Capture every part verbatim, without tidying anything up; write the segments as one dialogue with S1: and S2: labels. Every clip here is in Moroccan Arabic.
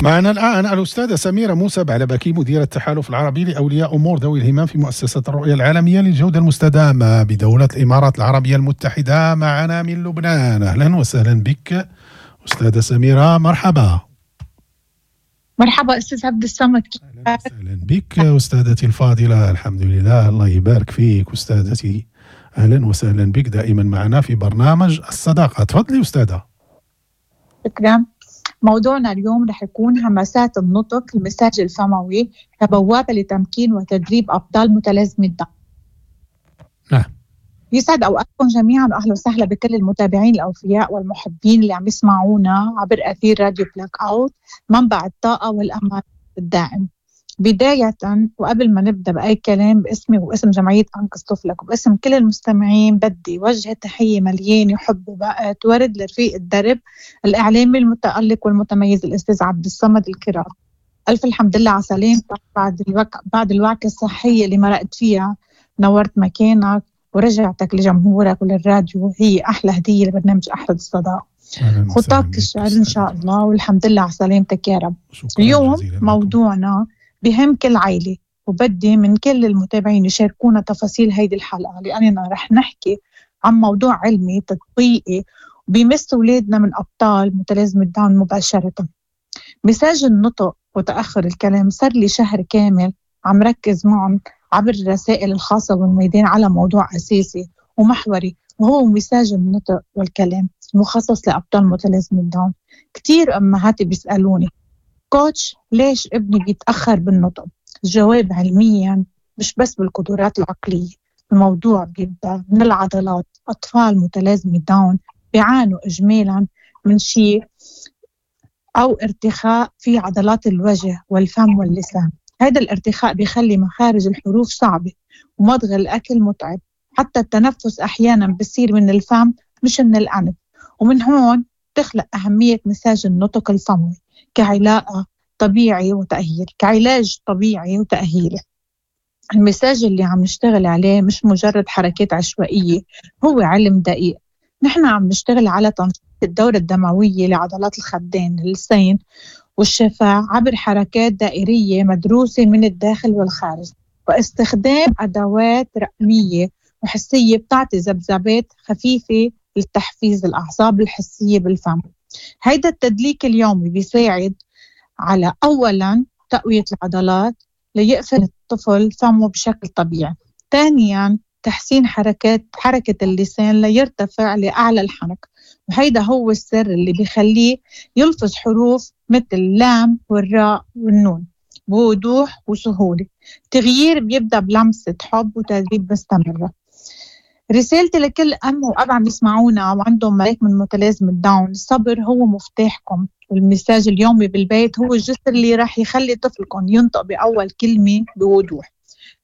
S1: معنا الآن الأستاذة سميرة موسى بعلبكي، مديرة التحالف العربي لأولياء أمور ذوي الهمم في مؤسسة الرؤية العالمية للجودة المستدامة بدولة الإمارات العربية المتحدة، معنا من لبنان. أهلا وسهلا بك أستاذة سميرة، مرحبا.
S2: مرحبا أستاذ عبد الصمد.
S1: أهلا وسهلا بك أستاذتي الفاضلة. الحمد لله، الله يبارك فيك أستاذتي. أهلا وسهلا بك دائما معنا في برنامج الصداقة. تفضلي أستاذة.
S2: شكرا. موضوعنا اليوم رح يكون همسات النطق، المساج الفموي كبوابة لتمكين وتدريب أبطال متلازمة داون.
S1: نعم.
S2: يسعد أوقاتكم جميعا، وأهلا وسهلا بكل المتابعين الأوفياء والمحبين اللي عم يسمعونا عبر أثير راديو بلاك أوت، منبع الطاقة والأمل الدائم. بداية وقبل ما نبدأ بأي كلام، باسمي واسم جمعية أنقذ طفلك وباسم كل المستمعين، بدي وجه تحية مليانة حب وبقت ورد لرفيق الدرب الإعلامي المتألق والمتميز الأستاذ عبد الصمد الكرام. ألف الحمد لله على سلامتك بعد الوك... بعد الوعكة الصحية اللي مرقت فيها. نورت مكانك ورجعتك لجمهورك وللراديو، هي أحلى هدية لبرنامج أحلى الصداقة. خطاك الشعر إن شاء الله، والحمد لله على سلامتك يا رب. اليوم موضوعنا بهم كل عائلة، وبدي من كل المتابعين يشاركونا تفاصيل هيدي الحلقة، لأننا رح نحكي عن موضوع علمي تطبيقي بيمس أولادنا من أبطال متلازمة داون مباشرة. مساج النطق وتأخر الكلام صار لي شهر كامل عم ركز معهم عبر الرسائل الخاصة والميدان على موضوع أساسي ومحوري، وهو مساج النطق والكلام المخصص لأبطال متلازمة داون. كتير أمهات بيسألوني كوتش ليش ابني بيتأخر بالنطق؟ الجواب علميا مش بس بالقدرات العقلية، الموضوع بيبدأ من العضلات. أطفال متلازمة داون بيعانوا إجمالا من شيء أو ارتخاء في عضلات الوجه والفم واللسان. هذا الارتخاء بيخلي مخارج الحروف صعبة ومضغ الأكل متعب، حتى التنفس أحيانا بيصير من الفم مش من الأنف. ومن هون تخلق أهمية مساج النطق الفموي كعلاقة طبيعي وتأهيل، كعلاج طبيعي وتأهيلي. المساج اللي عم نشتغل عليه مش مجرد حركات عشوائية، هو علم دقيق. نحن عم نشتغل على تنشيط الدورة الدموية لعضلات الخدين، اللسان والشفاه عبر حركات دائرية مدروسة من الداخل والخارج، واستخدام أدوات رقمية وحسية بتعطي ذبذبات خفيفة لتحفيز الأعصاب الحسية بالفم. هيدا التدليك اليومي بيساعد على أولاً تقوية العضلات ليقفل الطفل فمه بشكل طبيعي، ثانياً تحسين حركات حركة اللسان ليرتفع لأعلى الحنك، وهيدا هو السر اللي بيخليه يلفظ حروف مثل اللام والراء والنون بوضوح وسهولة. تغيير بيبدأ بلمسة حب وتدريب مستمرة. رسالتي لكل أم وأب عم يسمعونا وعندهم ملاك من متلازمة داون، الصبر هو مفتاحكم، والمساج اليومي بالبيت هو الجسر اللي راح يخلي طفلكم ينطق بأول كلمة بوضوح.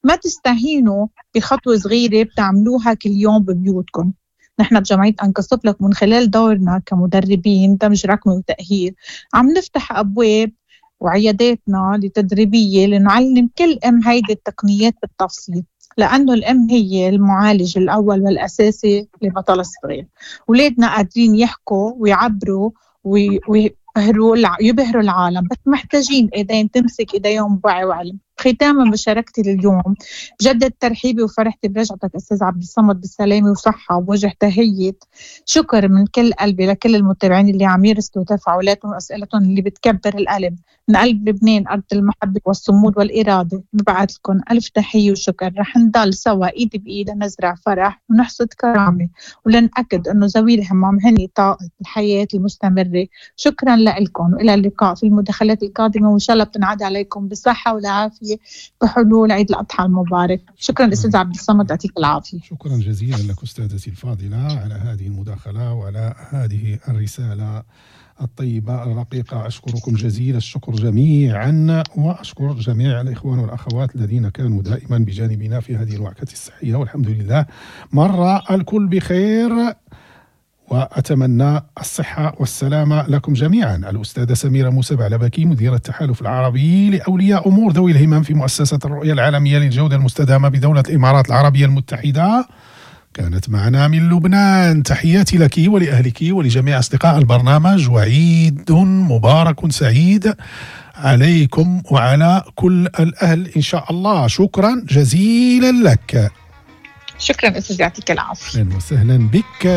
S2: ما تستهينوا بخطوة صغيرة بتعملوها كل يوم ببيوتكم. نحن بجمعية أنقذ طفلك من خلال دورنا كمدربين دمج رقمي وتأهيل عم نفتح أبواب وعياداتنا لتدريبية لنعلم كل أم هيدي التقنيات بالتفصيل، لأنه الأم هي المعالج الأول والأساسي لبطل الصغير. ولادنا قادرين يحكوا ويعبروا ويبهروا يبهروا العالم، بس محتاجين إيدين تمسك إيديهم بوعي وعلم. ختاما مشاركتي لليوم بجدد ترحيبي وفرحتي برجعتك أستاذ عبد الصمد بالسلامة وصحة، ووجه تحية شكر من كل قلبي لكل المتابعين اللي عم يرسلوا تفاعلاتهم وأسئلتهم اللي بتكبر القلب. من قلب لبنان أرض المحبة والصمود والإرادة ببعث لكم ألف تحية وشكر. رح نضل سوا إيد بإيد نزرع فرح ونحصد كرامة، ولنأكد أنه ذوي الهمم هني طاقة الحياة المستمرة. شكرا لكم وإلى اللقاء في المداخلات القادمة، وإن شاء الله بتنعاد عليكم بالصحة والعافية بحلول عيد الأضحى المبارك. شكرا أستاذ عبد الصمد، يعطيك العافية.
S1: شكرا جزيلا لك أستاذتي الفاضلة على هذه المداخلة وعلى هذه الرسالة الطيبة الرقيقة. أشكركم جزيل الشكر جميعا، وأشكر جميع الإخوان والأخوات الذين كانوا دائما بجانبنا في هذه الوعكة الصحية، والحمد لله مر الكل بخير، وأتمنى الصحة والسلامة لكم جميعا. الأستاذة سميرة موسى بعلبكي، مديرة التحالف العربي لأولياء أمور ذوي الهمم في مؤسسة الرؤية العالمية للجودة المستدامة بدولة الإمارات العربية المتحدة، كانت معنا من لبنان. تحياتي لك ولأهلك ولجميع أصدقاء البرنامج، وعيد مبارك سعيد عليكم وعلى كل الأهل إن شاء الله. شكرا جزيلا لك.
S2: شكرا أستاذ، يعطيك العافية.
S1: أهلا وسهلا بك.